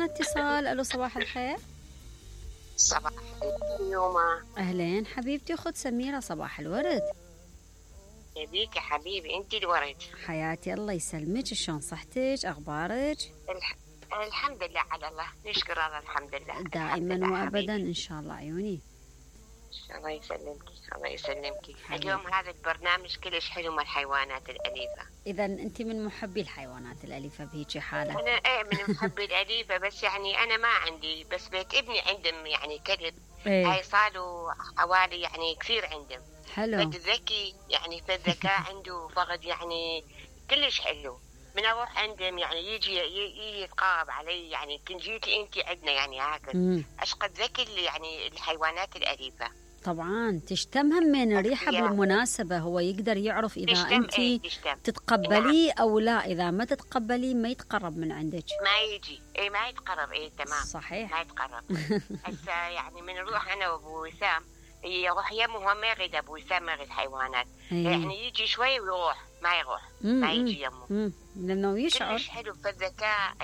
معنا اتصال. الو صباح الخير. صباح الخير يوما. اهلين حبيبتي اخت سميرة، صباح الورد. يبيك يا حبيبي، انت الورد. حياتي الله يسلمك، شلون صحتك اخبارك؟ الحمد لله على الله، نشكر الله الحمد لله دائما وابدا ان شاء الله عيوني. الله يسلمك الله يسلمك. اليوم هذا البرنامج كلش حلو مع الحيوانات الأليفة. اذا انت من محبي الحيوانات الأليفة بهيجي حالة؟ انا من محبي الأليفة، بس يعني انا ما عندي، بس بيت ابني عندهم يعني كلب. هاي صاروا حوالي يعني كثير عندهم. حلو. فد ذكي يعني، فالذكاء عنده فقد يعني كلش حلو. من اروح عندهم يعني يجي يتقارب علي، يعني كن جيتي انت عندنا يعني هكذا. اشقد ذكي يعني الحيوانات الأليفة. طبعا تشتمها من الريحة بالمناسبة، هو يقدر يعرف إذا أنت تتقبليه أو لا. إذا ما تتقبليه ما يتقرب من عندك، ما يجي ما يتقرب. تمام صحيح ما يتقرب. هسه يعني من نروح أنا وأبو وسام، يروح يمه، ما يريد أبو وسام، ما يريد حيوانات. يعني يجي شوي ويروح، ما يروح ما يجي يمه لأنه يشعر. كلش حلو في الذكاء.